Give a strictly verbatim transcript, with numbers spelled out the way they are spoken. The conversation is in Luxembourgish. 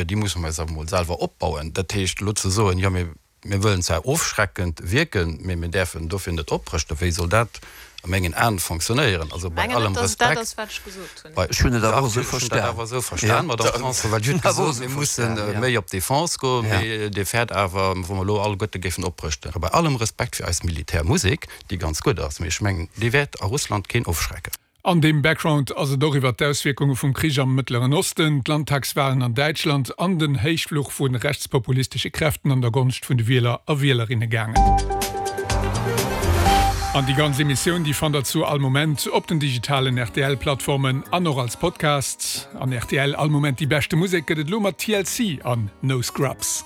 Déi musse mer eis awer emol selwer opbauen. Dat heescht, elo ze soen, jo mir mir wëllen zwar ofschreckend wierken, mee mir däerfen dofir net oprëschten, wéi soll dat a mengen Aen fonctionnéieren? Also bei allem Respekt, bei, Ech hunn et awer dach, esou ech hunn dat verstan. awer esou verstan, Madame Tanson, well Dir hutt gesot, mir musse méi op d'Defense goen, mee Dir fäert awer, wa mer elo alleguerte géifen oprëschten. A bei allem Respekt fir eis Militärmusek, déi ganz gutt ass, mee ech mengen, déi wäert a Russland keen ofschrecken. An deem Background ass et och iwwer d'Auswierkunge vum Krich am Mëttleren Osten, d'Landtagswalen an Däitschland an den Héichfluch vu rechtspopulistesche Kräften an der Gonscht vun de Wieler a Wielerinne gaangen. An déi ganz Emissioun déi fannt der zu all Moment op den digitalen R T L-Plattformen an och als Podcast. An R T L all Moment déi beschte Musek gëtt et elo mat T L C an No Scrubs.